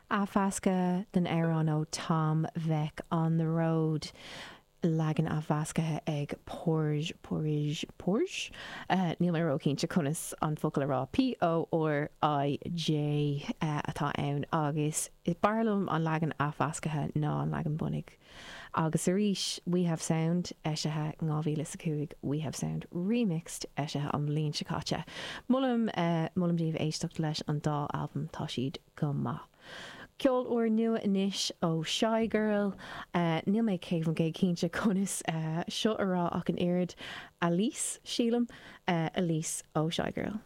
Athmheascadh den amhrán ó Tom Vek 'On the Road', leagan athmheasctha ag Porij, Porij, Porij? Níl mé ró-chinnte conas an focal a rá, P-O-R-I-J atá ann agus b'fhearr liom an leagan athmheasctha ná an leagan bunaidh. Agus arís, We Have Sound, eisithe in 2005, We Have Sound Remixed, eisithe an bhliain seo caite. Molaim, molaim daoibh éisteacht leis an dá albam, tá siad go maith. Ceol úr nua anois ó Shygirl. Níl mé 100% cinnte conas seo a rá ach an oiread. Alys, sílim. Alys ó Shygirl.